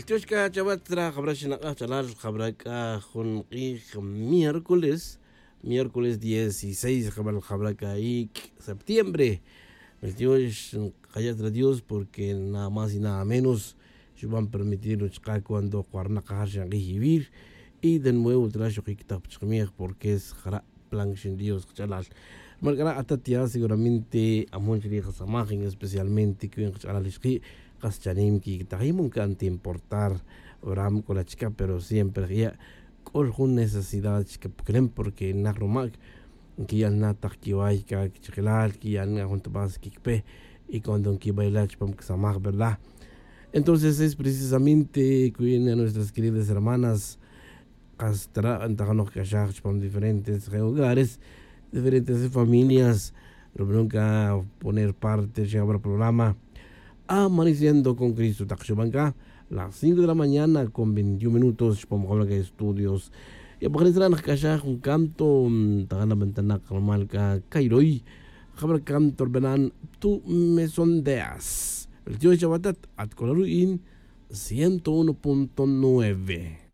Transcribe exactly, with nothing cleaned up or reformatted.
Tiox c'a chawa tzra jabra xinak'aj ch'alal jabra c'a jun k'ij miércoles, miércoles dieciséis jabal jabra c'a ic' septiembre. Tiox nkaya' tzra dios porque nada más y nada menos xuban permitir chka' cuando k'o arnakajar xank'ij ivir. Y de nuevo tzra xukic tak pa chkamiej porque es jara' plan xin dios kach'alal. Rmal c'ara' atat ya seguramente amon chirij kasamaj en especialmente cui nkach'alal ixki', kas chanim quiquitajim nca'n ta importar. Ram c'o la chca pero siempre jya' c'o jun necesidad chca puclem porque naj rumac nquiyal na tak quiway ca quichakilal quiyal na jun tabas quiquipe. Y cuando nquibayla chupam casamaj verdad. Entonces es precisamente cui nuestras queridas hermanas, kas tara' nta janoj c'axaj chupam diferentes hogares, diferentes familias. Rubanon c'a poner parte chijabra programa amaneciendo con cristo tak xuban c'a las cinco de la mañana con veintiun minutos chupam jabra c'a estudios. Y apajre' tzra' nak c'axaj jun canto ta jana ventanak rumal c'a cairoy jabra canto rbanan tu mesondeas. Ri tiox chawatat at c'o la ru'in ciento uno punto nueve.